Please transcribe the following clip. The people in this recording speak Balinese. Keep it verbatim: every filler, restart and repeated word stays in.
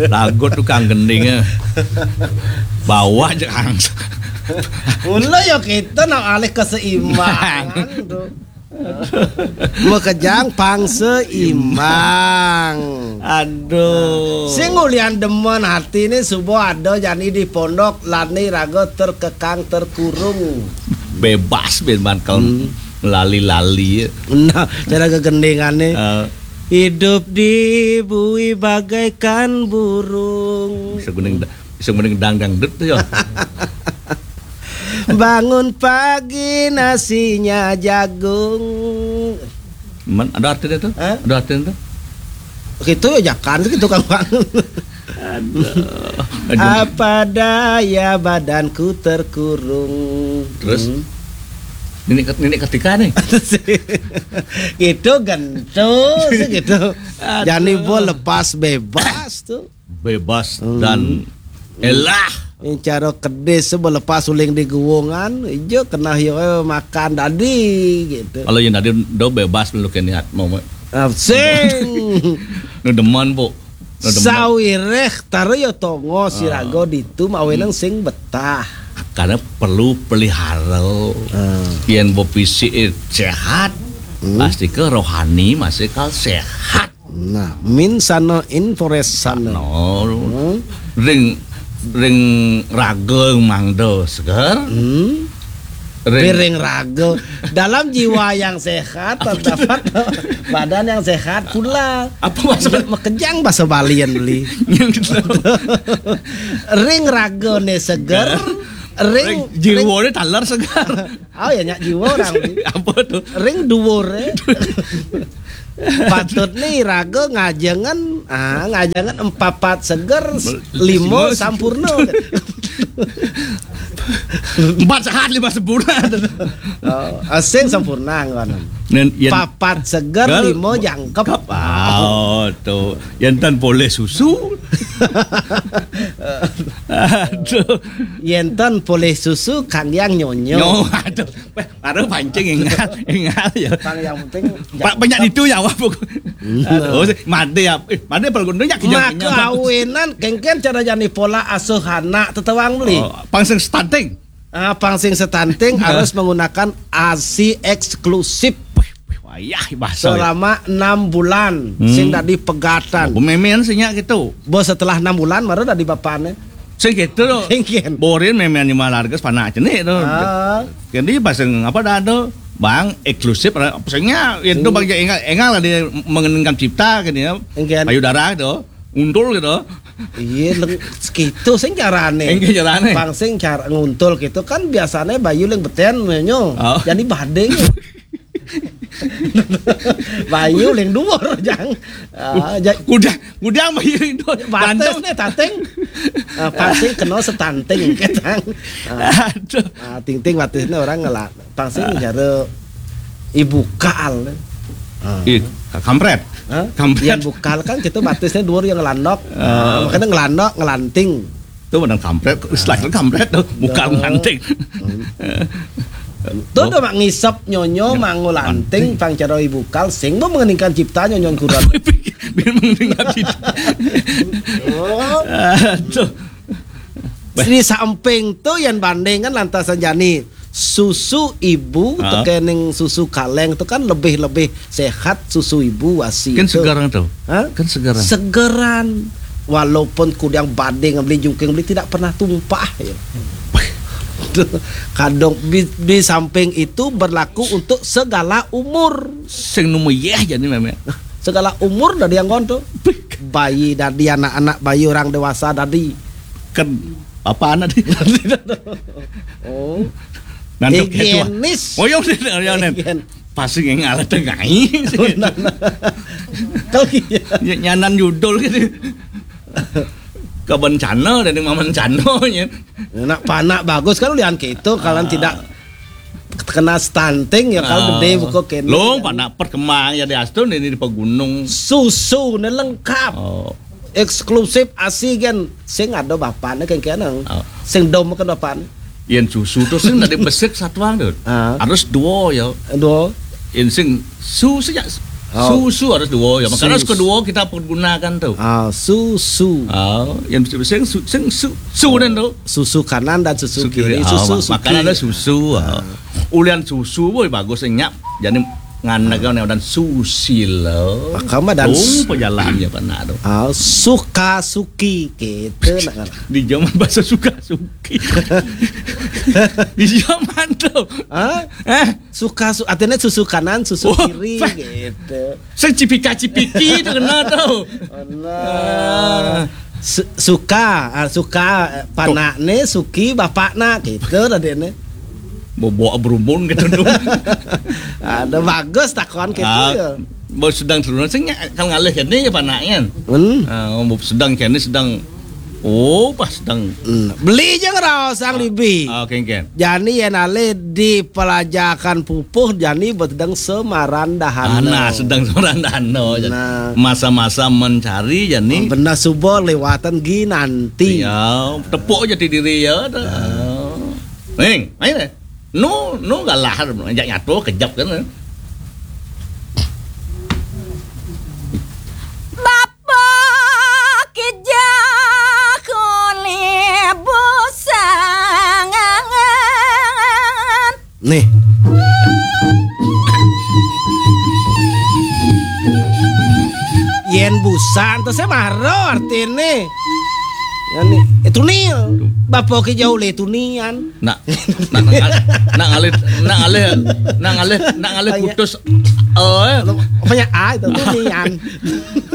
Lagu tukang gending, eh. Bawa aja kang. Mula ya kita nak alih keseimbangan tu. Makejang pang seimbang. Aduh. Sing ulian demen hati ni subuh ada jani di pondok lani raga terkekang terkurung. Bebas bin ban kalau Hmm. lali-lali. Nah, cara kegendingan ni. Eh. Hidup di bui bagaikan burung. Bisa gending, bisa gending dangdut tu ya. Bangun pagi nasinya jagung. Man, ada artinya tu? Hah? Ada artinya tu? Gitu ya jakan gitu kan Bang. Aduh. Aduh. Apa daya badanku terkurung. Terus? Hmm. Nenek ket-, nenek ketika nih. Gitu gentu sih gitu. Aduh. Jani bo lepas bebas tu. Bebas Hmm. dan elah. Yang cara kedis tu melepas uling di guungan, ijo kena yo makan dadi gitu. Kalau yang tadi do bebas lu keniat mau. Ah, sing. Nu demen, Bu. Nu demen. Sawireh tara yo tongo siraga Hmm. ditu mawenang Hmm. sing betah. Karena perlu pelihara. Hmm. Yen bo fisik sehat, Hmm. pasti ke rohani masih kal sehat. Nah, min sana infores sana. No. Hmm. Ring, ring raga mangda seger. Hmm. Ring Ring raga. Dalam jiwa yang sehat terdapat badan yang sehat pula. Apa maksud? Makejang bahasa Balian beli. Ring raga ne seger. Ring, Ring jiwa ring ne taler seger. Oh ya nyak jiwa orang ni. Apa tu? Ring duwur eh. Patut ni raga ngajengan, ah, ngajengan empapat seger, s-, lima lima sampurna. Empat sehat, lima sempurna. Oh, asing sampurna ngono. Nen, yen Papat seger, Gal-, lima jangkep. Kep. Oh, tu. Yen tan poleh susu. Aduh. Yen tan poleh susu, kang yang nyonyo. Nyo, aduh. Weh, baru pancing ingat, ingat ya. Kang yang penting Pak, banyak itu ya, wah, pokok. Nah. Aduh, oh, made ya. Eh, made perlu nyak kenyang, Maka kenyang. Awinan, kengken cara jani pola asuh anak tetewang beli. Oh, pang sing stunting. Ah, pang sing stunting Ya. harus menggunakan A S I eksklusif. Wih, wih, wayah bahasa ya. Selama enam bulan, Hmm. sing dadi pegatan. Apa memen sih nyak gitu? Bos setelah enam bulan, baru dadi bapane. Sing gitu loh. Sing ken. Borin memen lima larga sepanak cenik tuh. Ah. Jadi pas yang apa dah tuh, Bang, eksklusif, apa singnya, itu Hmm. Bang, ya, enggak, enggak lah dia mengeningkan cipta kan ya. Sing ken. Payudara itu, untul gitu. Iya, leng-, sekitu sing carane. Sing carane. Pang sing cara nguntul gitu kan biasanya bayu leng beten menyo. Oh. Jadi bading. Bayu leng duwur, Jang. Ah, ja- Kuda, kuda bayu leng duwur. Batas Ganteng. Nih, tating. Ah, pang sing kena setanting, ketang. Ah, Aduh. ah, ting-ting batasnya orang ngelak. Pang sing Ah. cara ibu kal. Ah. Ih, kampret. Hah? Kampret. Yang bukal kan kita batasnya dua yang landok. Ah. Nah, makanya ngelandok, ngelanting. Itu benar kampret, istilah itu kampret tuh, bukal Nah. ngelanting. Hmm. Tuh Oh. udah mak ngisep nyonyo, Ya. mangulanting, Lanting. pang cara ibu kal, sing mau mengeningkan cipta nyonyo kurang. Biar mengeningkan cipta. Oh. Aduh. Di samping tu yang bandingkan lantasan jani susu ibu Ah. tekening susu kaleng tu kan lebih-lebih sehat susu ibu wasi Kan tu. Segaran tu. Hah? Kan segaran. Segeran. Walaupun kudang bading beli jungking beli tidak pernah tumpah ya. Kadang di, di samping itu berlaku untuk segala umur. Sing numu yeh jadi memang. Segala umur dari yang konto. Bayi dari anak-anak bayi orang dewasa dari Kan apa anak dia? Oh. Nanti Higienis. Oh, ya udah, ya udah. Higien. Pasti yang ngalah tengai. Kalau iya. Ya, nyanan judul gitu. Kaban cano dan maman cano ya. Nak panak bagus kan ulian kita kalau Ah. tidak kena stunting ya kalau Ah. gede buka kene. Long panak perkemang ya di Astun ini di pegunung. Susu ne lengkap. Oh. Eksklusif asi kan sing ada bapane kan kene. Oh. Sing dom kan bapane. Yen susu tu sing dari besik satuan tu. Ah. Harus dua ya. Dua. Yen sing su sejak Oh. Susu harus dua ya. Makanya susu kedua kita pergunakan tuh. Ah, susu. Ah, yang sing su, sing su, su dan tuh. Susu kanan dan susu kiri. Ah, susu, makanya ada susu. Ah. Ulian susu boy bagus nyap. Jadi ngandek kan dan susi lo. Makanya dan pejalan ya pernah tuh. Ah, suka suki gitu. Di zaman bahasa suka suki. Di zaman tuh. Hah? Eh, suka su, artinya susu kanan, susu kiri gitu. Sing cipika-cipiki itu kena tuh. Nah. Su, suka, ah, suka, eh, panakne, suki, bapakna gitu tadi ne. Bobo berumun gitu tuh. Ada bagus takon gitu. Ah, ya. Bos sedang turun, sing kalau ngalih kene ya panaknya. Hmm. Ah, sedang kene sedang Oh, pas sedang. Hmm. Beli aja ngeraos sang libi. Ah, oke, oke. Jani yen ale di pelajakan pupuh jani sedang semarandahana. Nah, sedang semarandahana. Nah. Masa-masa mencari jani. Benar subuh lewatan gi nanti. Ya, tepuk aja di diri ya. Ning, ayo deh. Nu, nu galah ajak nyatu kejap kan. Bapak kijak oleh busangan. Nih. Yen busan terus saya maro artine. Ya nih, itu nih. Bapak kijak oleh tunian. Nak, nak, nak ngalih, nak ngalih, nak ngalih, nak ngalih putus. Oh, eh. Apanya A itu tunian.